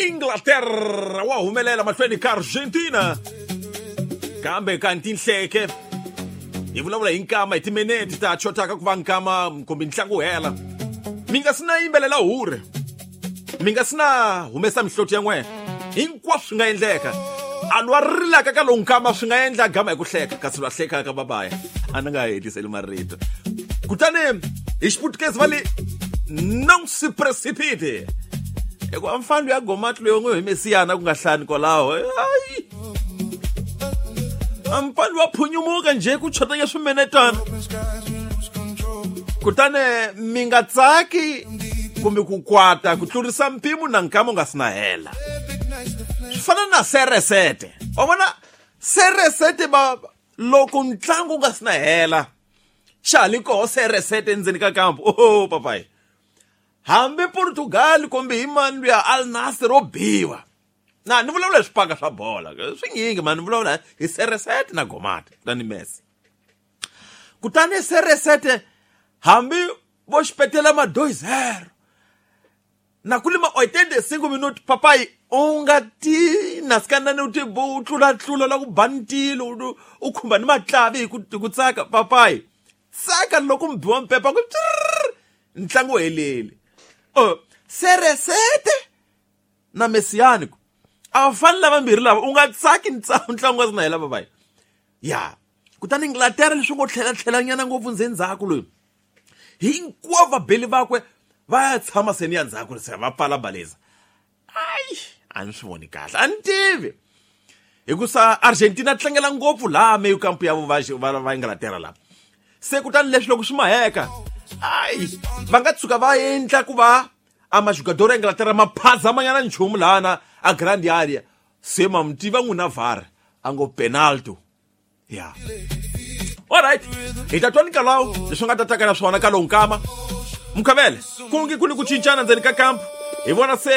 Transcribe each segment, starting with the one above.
Inglaterra wa humelela mahlweni ka Argentina kambe kanti nhleke hi vulavula hi nkama hi timinete ta chotaka ku va nkama kumbe ntlangu wu hela mi nga si na yimbelela hure mi nga si na humesa mihloti ya n'wena hinkwaswo swi nga endleka a lwa rilaka ka lowu nkama swi nga endla gama hi ku hleka kasi lwa hlekaka babaya a ni nga hetiseli marito kutani hi xiputukezi va le non si precipite hikuva mfana luya gomati loyi n'wi hi mesiyana ku nga hlani kwalaho ayi mfana wa phunyumuka njhe ku chotanya swimenetana kutani mi nga tsaki kumbe ku kwata ku tlurisa mpimo na nkama u nga si na hela swi fana na seresete wa vona seresete va loko ntlangu u nga si na hela xa ha li koho seresete endzeni ka kampu oho papayi hambi Portugal kumbe hi mani luya Al Nassr o biwa na ni vulavula hi swipaka swa bola swinyingi mani ni vulavula hi seresete na gomati kutani Messi kutani seresete hambi vo xipetela ma 2-0 na ku lima 85 minuti papayi u nga ti nasikanani u ti u tlulatlula la ku ba ntilo u khumba ni matlavi hi ku tsaka papayi tsaka loko mi biwa mpepa ku ntlangu wu heleli o seresete na mesiyani ku a va fani lavambirhi lava u nga tsaki ntlangu wa sina hela papayi ya kutani Inglaterra leswi ngo tlhela tlhelanyana ngopfu ndzhendzhaku loyi hinkwavo vabeli vakwe va ya tshama seni ya ndzhaku se va pfala baleza ayi a ni swi voni kahle a ni tivi hikusa Argentina tlangela ngopfu laha meyo kampu ya va va Inglaterra laha se kutani leswi loko swi maheka ayi va nga tshuka va endla ku va a majugador ya Inglaterra ma phazamanyana nchumu lahana a grand area se ma mi tiva n'wina VAR a ngo penalty ya alright hi ta twa ni kalawo leswi nga ta taka na swona ka lowu nkama mukhavele ku nge ku ni ku cincana ndzeni ka kampu hi vona se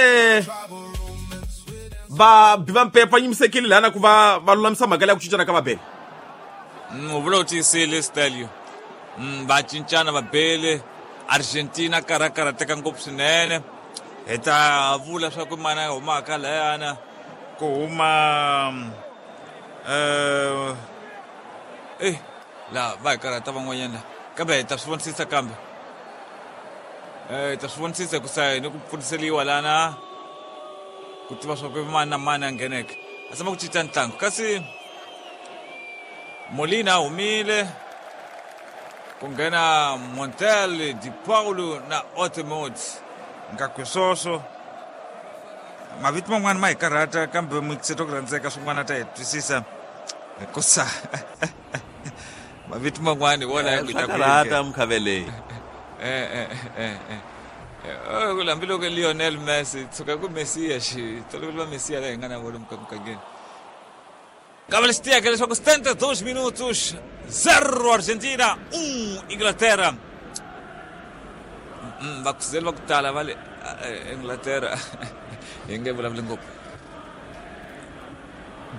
va bi va mpepa nyimisekile lana ku va va lulamisa mhaka leya ku cincana ka vabele u vula u tiyisile stelio va cincana vabele Argentina karha karhateka ngopfu swinene hi ta vula swa ku mana humaka layana ku huma eh la va hi karhata van'wanyana la kambe hi ta swi vonisisa kambe hi ta swi vonisisa ku sa ni ku pfuniseliwa lana ku tiva swa ku mani na mani a ngheneke a tshama ku cinca ntlangu kasi Molina a humile ku nghena Montel Di Paulo na Otemot ngaku swoswo mavito man'wana ma hi karhata kambe mixeto ku rhandzeka swin'wana ta hi twisisa hikusa mavito man'wana hi wona ya ku swa karhata mukhavele hambiloko Lionel Messi tshuka ku Mesiya xi tolovele va Mesiya la hi nga na vona mugangeni kambe lexi tiyeke leswaku 72 minutos 0 Argentina 1 Inglaterra vakhuzeli va ku tala va le Inglaterra hi nge vulavuli ngopfu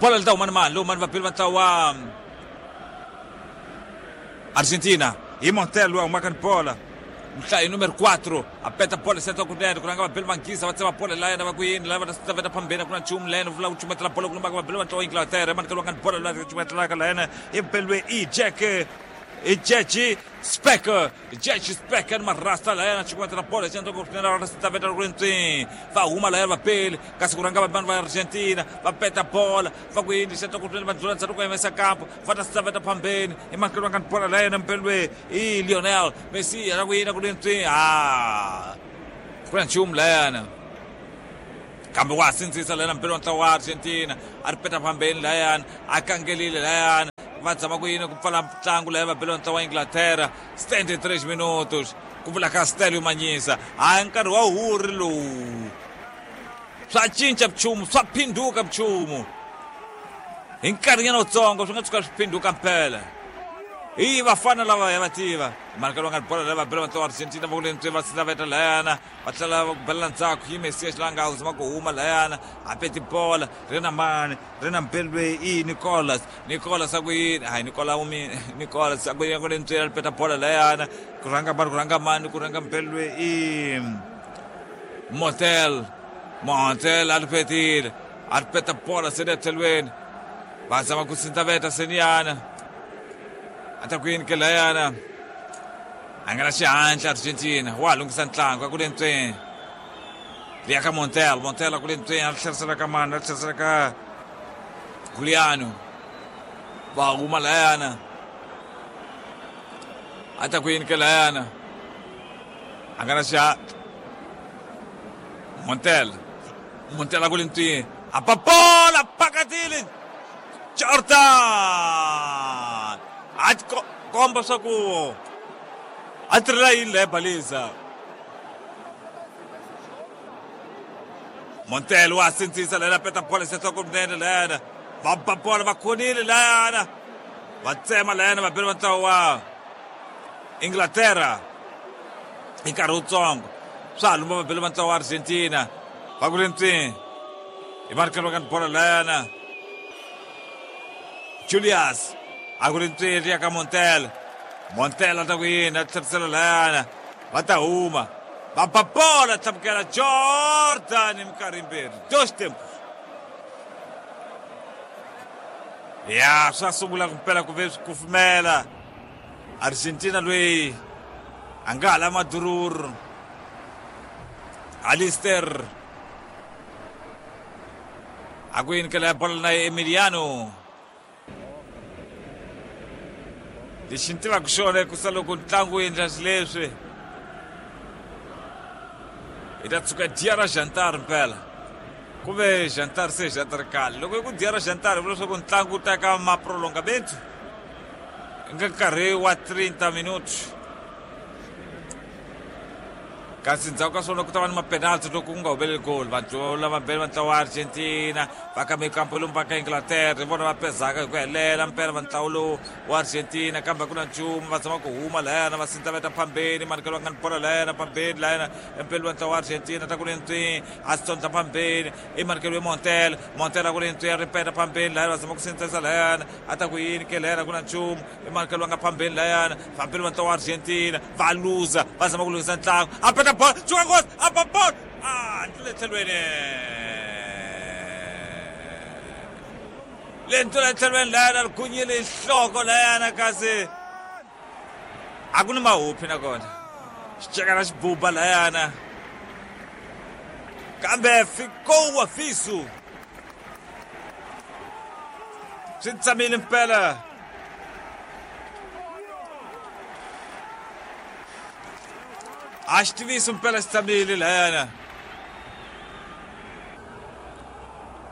bola li ta huma ni mani lowu mani vabeli va ntlawa wa Argentina hi Montel loyi a humaka ni bola nhlayo numero 4 a peta bola seta kunene ku rhanga vabeli vanghisa va tsema bola la yena va ku yini la va ta veta phambeni ku na nchumu la yena vula ku cumetela bola ku lumbaka vabeli va ntlawa Inglaterra emanikelo wa nga ni bola la cumetelaka la yena i beliwe i Jack i Jack Speck Jack Speck ni marasta la yena cumetela bola xi endla ku swinene va ta veta rintswi va huma la yena vabeli kasi ku rhanga vanhu va Argentina va peta bola va ku yini xi endla ku swinene va ndlula ndzhaku ku yimesa kampo va ta saveta phambeni emahlweni va nga ni bola la yena mpelwe i Lionel Messi ra ku yina ku rintswi a ku na nchumu layana kambe wa sindzisa layana mpelo wa ntlawa wa Argentina a ri peta phambeni layana a kangelile layana va zama ku yini ku pfala ntlangu laya va bela wa ntlawa wa Inglaterra 73 minutos ku vula ka Stelio Manyisa hayi nkarhi wa huri lowu swa cinca nchumu swa phinduka nchumu hi nkarhinyana wutsongo swi nga tshuka swi phinduka mpela hi vafana lava ya va tiva mhaka va nga bola lava bela vatla wa Argentina va ku lentswe va sila layana va tlhela va ku belela ndzhaku yi Mesias la nga zama ku huma layana a peti bola ri na mani ri na mbelwe i Nicolas Nicolas a ku yini hayi Nicolas umi Nicolas a ku yini ku lentswe ri peta bola layana ku rhanga mani ku rhanga mani ku rhanga mbelwe i Motel. Montel a ri petile a ri peta bola seni etlhelweni va zama ku sintaveta seniyana a ta ku yini ke layana a nga na xihatla Argentina wa ha lunghisa ntlangu a ku le ntsweni liya ka Montel Montel a ku le ntsweni a ri tlherisela ka mani a ri tlherisela ka Giuliano va huma layana a ta ku yini ke layana a nga na xihatla Montel Montel a ku le ntsweni a ba bola phakatile Jordan a ti komba swa ku a tirhela yini leya balisa Montel wa sindzisa layana peta bola sehloko kunene layana va ba bola va khonile layana va tsema layana va bela va ntlawa wa Inglaterra hi nkarhi wutsongo swa ha lumba va bela va ntlawa wa Argentina va ku ri ntsini hi marikelo ka bola layana Julius a ku ri ntswiri ya ka Montel Montel a ta ku yini a tlherisela layana va ta huma va ba bola tlhambukela Jordan hi minkarhi yimbirhi dos tempos ya swa sungula ku mpela ku ve swi kufumela Argentina loyi a nga hala madururu Alister a ku yini kela ya bola na Emiliano lexi ni tivaka xona ku sa loko ntlangu wu endla xileswi hi ta tshuka dya ra jantar mpela ku ve jantar se jantar khale loko i ku dya ra jantar vula leswaku ntlangu wu ta ka maprolongamento nga nkarhi wa 30 minutos kasi ndzhaku ka swona ku ta va ni mapenalty loko ku nga humeleli goli vadyola vambirhi va ntlawa wa Argentina va ka mikampo lomu va ka Inglaterra hi vona va pezaka hi ku helela mpela va ntlawa lowu wa Argentina kambe a ku na nchumu va zama ku huma layana va sindza va ta phambeni manikelo va nga ni bola layana phambeni layana empeli wa ntlawa wa Argentina ta ku ri ntswi a swi tsondla phambeni i manikelo ya Montel Montel a ku ri ntswi ya ripeta phambeni layana va zama ku sindzisa layana a ta ku yini ke layana ku na nchumu i manikelo va nga phambeni layana vambirhi va ntlawa wa Argentina va luza va zama ku lunghisa ntlangu a peta bola chuka nghozi a ba bola a ndlule tlhelweni le ndlula tlhelweni layana ri gunyile nhloko layana kasi a ku ni mahuphi nakona xicekana xibuba layana kambe ficou aviso swi tsamile mpela a xi tivisi mpela xi tshamile layana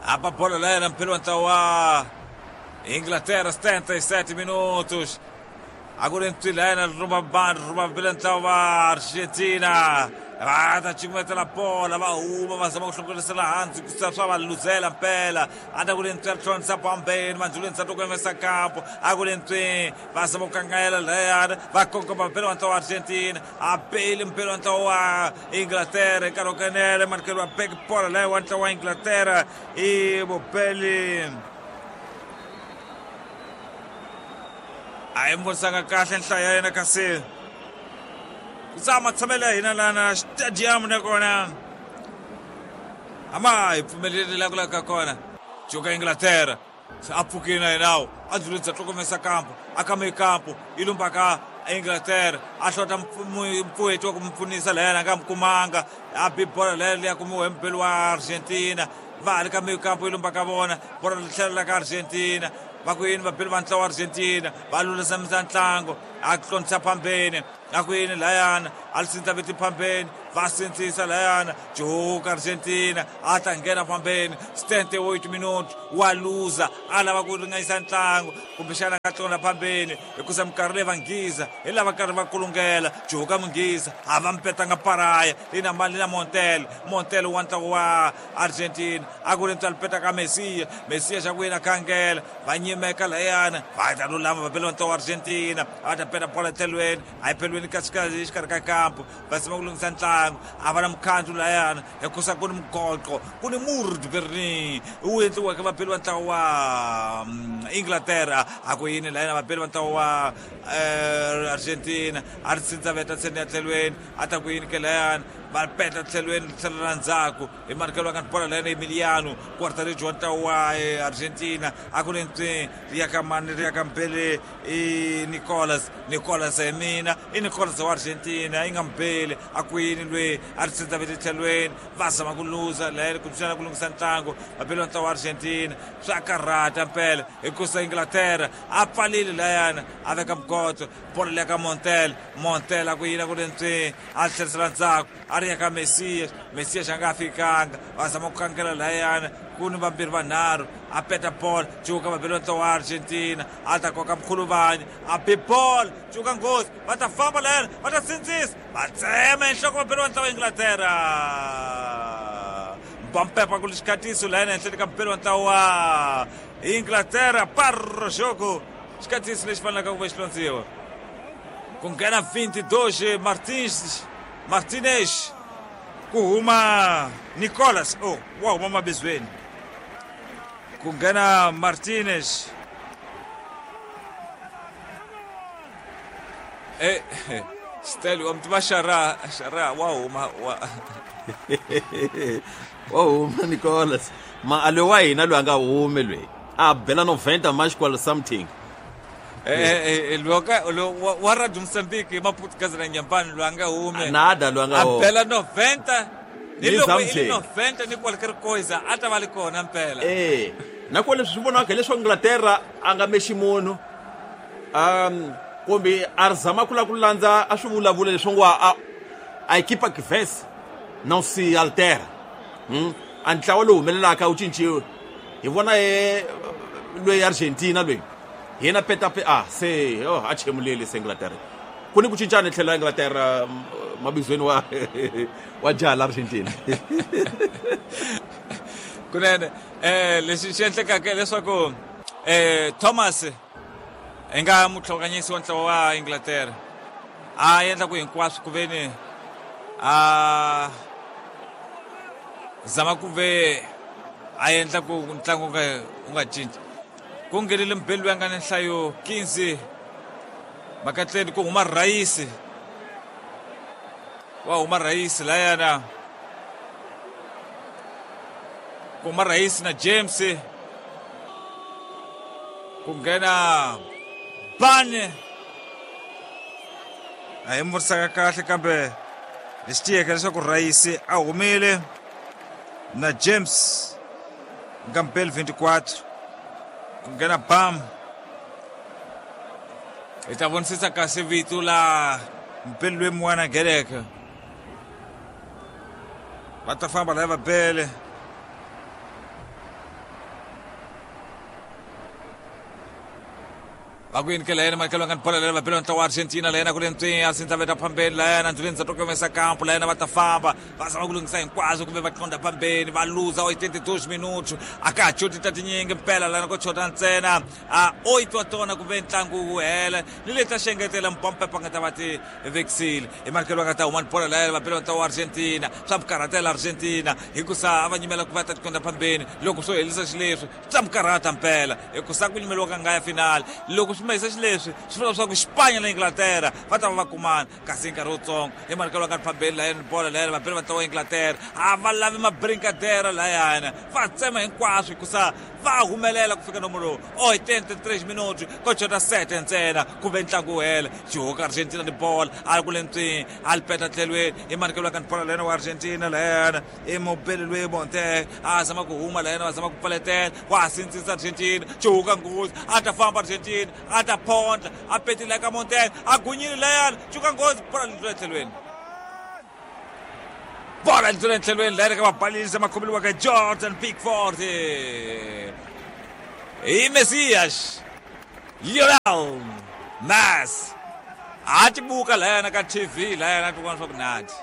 a ba bola layana mpela wa ntlawa wa Inglaterra 77 minutos a ku ri ntwi layana ruma vanhu ruma mpela ntlawa wa Argentina va ta cukumetela bola va huma va zama ku hlongorisela hansi ku swa va luzela mpela a ta ku ri ntswi ya tlhontlha bombeni mandzulweni sa tokomesa kampo a ku ri ntswi va zama ku kangayela layana va kongoma mpela wa ntlawa wa Argentina a beli mpela wa ntlawa wa Inglaterra nkarhi wo kenele manikelo wa back bola laya wa ntlawa wa Inglaterra i vubeli a yi vonisanga kahle nhlayo ya yena kasi ku tsama matshamelo ya hina lana stadium nakona a ma hi pfumeleli la ku laka kona joka Inglaterra se a pfukile na yenawo a dzulisa tlokomesa kampo a kame kampo yi lumba ka Inglaterra a hlota mpfueti wa ku mu pfunisa layena a nga mu kumanga a bi bola leyo leya kumiwa hi mubeli wa Argentina va ha ri ka kampo yi lumba ka vona bola ri tlhelela ka Argentina va ku yini vabeli va ntlawa wa Argentina va lulamisamisa ntlangu a tlontlha phambeni a ku yini layana a li sintsa viti phambeni va sindzisa layana joka Argentina a ta nghena phambeni 78 minutos wa luza a lava ku ringanyisa ntlangu kumbexana a nga tlona phambeni hikusa minkarhi leyi vanghiza hi lava karhi va kulungela joka munghiza a va mpetanga paraya lina mali na Montel Montel wa ntlangu wa Argentina a ku ri ntswalo peta ka Messiya Messiya xa ku yena khangela va nyimeka layana va ta lulama va bela ntlawa wa Argentina va ta peta bola etlhelweni a yi pelweni ka xikarhi ka kampo va zama ku lunghisa ntlangu a va na mukhandlu layana hikusa ku ni mugoqo ku ni murd Berlin wu endliweke vabeli va ntlawa wa Inglaterra a ku yini layana vabeli va ntlawa wa Argentina a ri sindza veta ntseni ya tlhelweni a ta ku yini ke layana Va peta tlhelweni tlhelo ra ndzhaku hi marikelo va nga bola layena Emiliano Quartariji wa ntlawa wa Argentina a ku ri ntswi ri ya ka mani ri ya ka Mbele i Nicolas Nicolas hi mina i Nicolas wa Argentina yi nga Mbele a ku yini lweyi a ri tsindza tlhelweni va zama ku luza layena ku tsana ku lunghisa ntlangu vabeli wa ntlawa wa Argentina swa karhata mpela hikusa Inglaterra a pfalile layana a veka mugotso bola leya ka Montel Montel a ku yini a ku ri ntswi a tlherisela ndzhaku a ri ya ka Messias Messias a nga fikanga va zama ku kangela layana ku ni vambirhi vanharhu a peta bola cuka vabeli wa ntlawa wa Argentina a ta koka mkhuluvanyi a bi bola cuka nghozi va ta famba layana va ta sindzisa va tsema enhloko vabeli wa ntlawa wa Inglaterra Mbampepa ku xikhatiso layana henhleni ka mubeli wa ntlawa wa Inglaterra parro jogo xikhatiso lexi fanelaka ku va xi londziwa ku nghena 22 Martinez ku huma Nicolas oh wa huma mabizweni ku nghena Martinez Stel wa mtiva Xara Xara wa huma wa wa huma Nicolas ma a loyi wa hina loyi a nga humi loyi a bela 90 mais qual something loka wa Radio Mozambique Maputo na Nyambani loyi a nga humi nada loyi a nga a bela 90 ni loko i 90 ni qualquer coisa a ta va li kona mpela na ku leswi swi vonaka hileswaku Inglaterra a nga mexi munhu kumbe a ri zama ku lava ku landza a swi vulavula leswi ngo a equipa que vence não se altera a ntlawa lowu humelelaka wu cinciwe hi vona loyi Argentina loyi hi yena peta a se a chemuleli se Inglaterra ku ni ku cincana tlhelo la Inglaterra mabizweni wa jaha la Argentina kunene lexi xi endlekaka leswaku Thomas hi nga mutlhonganyisi wa ntlawa wa Inglaterra a endla ku hinkwaswo ku veni a zama ku ve a endla ku ntlangu wu nga cinci ku nghenile mubeli loyi a nga ni nhlayo 15 makatleni ku huma Raisi wa huma Raisi layana ku huma Raisi na James ku nghena Bane a hi murisaka kahle kambe lexi tiyeke leswaku Raisi a humile na James nga mpeli 24 ku nghena Bam hi ta vonisisa kasi vito la mpeli loyi mun'wana ngheneke va ta famba laya va bele va ku yini ke layena makelo nga ni bola layena vabeli ntlawa wa Argentina layena ku le ntswi a sindza veta phambeni layena ndzi ndza tokomesa kampo layena va ta famba va zama ku lunghisa hinkwaswo kumbe va qonda phambeni va luza 82 minutos a ka ha choti ta tinyingi mpela layena ko chota ntsena a 8 wa tona kumbe ntlangu wu hela ni leti ta xengetela mpampepa nga ta va ti vekisile hi marikelo va nga ta huma ni bola layena vabeli ntlawa wa Argentina swa mukarhatela Argentina hikusa a va nyimela ku va ta tikonda phambeni loko swo helisa xileswi swa mukarhata mpela hikusa ku nyimeliwa ka ngaya final loko swi mahisa xileswi swi vula leswaku Xipanya na Inglaterra va ta va va kumana kasi hi nkarhi wutsongo hi marikelo va nga ri phambeni layani bola layani vabeli va ntlawa wa Inglaterra a va lavi mabrinkadera layana va tsema hinkwaswo hikusa va humelela ku fika nomo lowu 83 minutos ko chota 7 ntsena kumbe ntlangu wu hela xihuka Argentina ni bola a ri ku le ntswini a li peta tlhelweni hi marikelo va nga ni bola layana wa Argentina layana i mubeli loyi Monte a zama ku huma layana va zama ku pfaletela wa sindzisa Argentina xihuka nghozi a ta famba Argentina a ta phondla a petile ka Monte a gunyile layana xihuka nghozi bola li tlhelweni bola li tlhelweni layana ka vabalisa makhomeliwa ka Jordan Pickford i Messias Lionel Messi a ti buka layana ka TV layana ti vona swa ku nati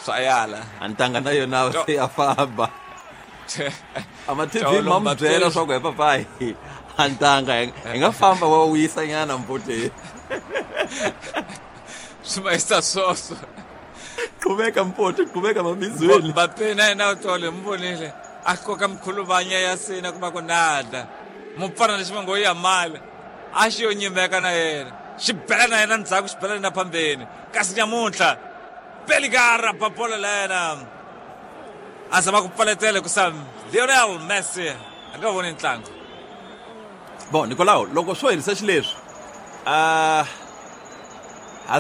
swa yala a ntanga na yona se ya famba ama TV ma mi byela swa ku he papayi a ntanga hi nga famba wa wisa nyana mbuti swi mahisa swoswo qhubeka mpoto qhubeka mabizweni Mbappe na yena u tole mi vonile a koka mikhuluvanya ya sina kuma ku nada mupfana lexi va ngo ya mali a xi yo nyimeka na yena xi bela na yena ndzhaku xi bela na phambeni kasi nyamuntlha Beligar ba bola lena a zama ku pfaletela hikusa Lionel Messi a nga voni ntlangu. Bon, Nicolau, loko swo herisa xileswi, ha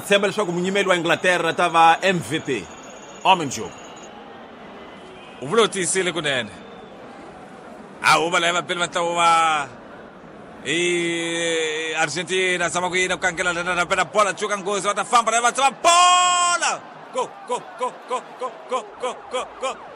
tshemba leswaku munyimeli wa Inglaterra ta va MVP Ominjuk. U vule u tiyisile kunene. A huma laya vapeli va ntlawa wa i Argentina zama ku yina ku kangela lena na pela bola cuka nghozi va ta famba laya va tsema bola go go go go go go go go go.